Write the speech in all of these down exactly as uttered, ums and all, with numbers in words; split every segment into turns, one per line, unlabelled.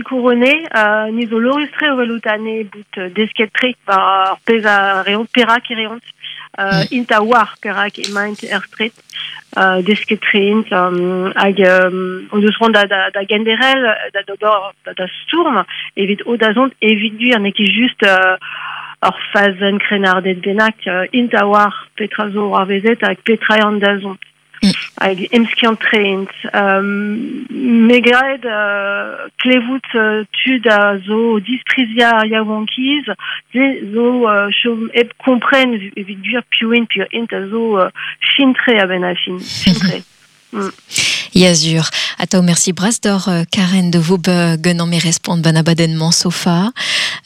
Couronné, euh, ni zo lorustre o welout ane bout desket tre war ar pezh a reont perak e reont. Euh, mm. Int a war perak emaint er stret, euh, desket tre int, um, hag um, o deus c'hoant da, da, da genderel, da d'ober da, da stourm, evit o da zont evit gwir, n'eo ket just euh, ur fazenn krennarded bennak, euh, int a war petra zo ar vezet hag petra eo an da zont. Mm. Hag emskiant tre int. Um, me graet uh, klevout uh, tud a zo disprizia ar yaouankiz, ze zo uh, chom hep kompren evit gwir piv int, piv int a zo uh, fin-tre a-benn ar fin, fin-tre. Mm.
Yazur. Atao merci bras d'or Karen de vo genan me respond ban abadennement sofa.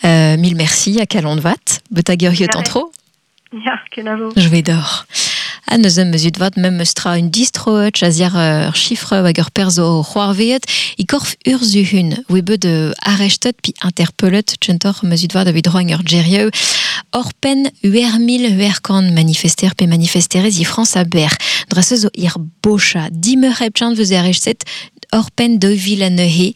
Euh, mille merci a kalon vat. Betag ur yot antro.
Ya, kenavo.
Je vais d'or. A neuze meus vat mem eus tra un distro chaziar ur chiffre hag ur perzo c'hoarveet i korf urzuhun oe bet arrestet pi interpellet tchentor meus vat evit roagn ur gerieu Or pen uer mil uer kant manifester pe manifesterez i France a ber. Drase zo ir bocha. Dimeur hep chant veus arrestet or pen deux vil a neuhe.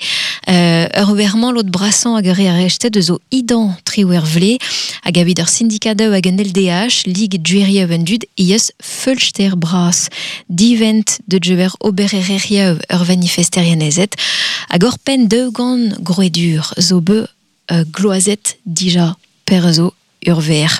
Euh, ur werman lot brassan hag ur arrestet zo idan tri wer vle hag evit ur syndikadeu hag an L D H, Ligue Djuerieu en dud, ies feulster bras. Divent de djuer oberererieu ur manifesterianezet hag or pen deux gant groedur zo be euh, gloazet dija per zo urver.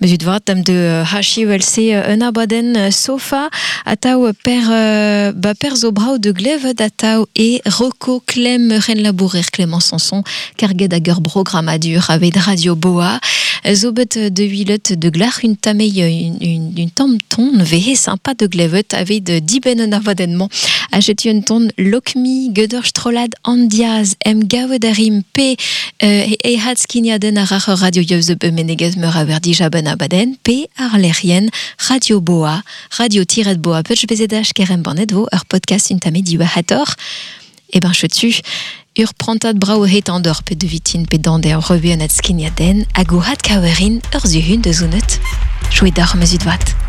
Meus vat am de H I U L C un abaden sofa atao per euh, ba per zo brau de glevet atao e roko Clem ren labourer Clément Sanson karget hag ur programmadur aveit Radio Boa zo bet de huilet de glach une tamei une, une, une tamm ton vehe sympa de glevet aveit diben un abadennement achetu un ton lokmi geder strolad andiaz em gavet arim p euh, e hat skiniaden ar ar radio yeus be menegez meur a wer dija ben abaden p ar lerien Radio Boa radio tiret boa pech bezedach kerem banet vo ur podcast un tame diwa hator e ben chetu ur prantad brao het an dor pe de vitin pe dande ur revue an at skiniaden hag o hat kawerin ur zuhun de zounet. Chouet d'ar meus vat.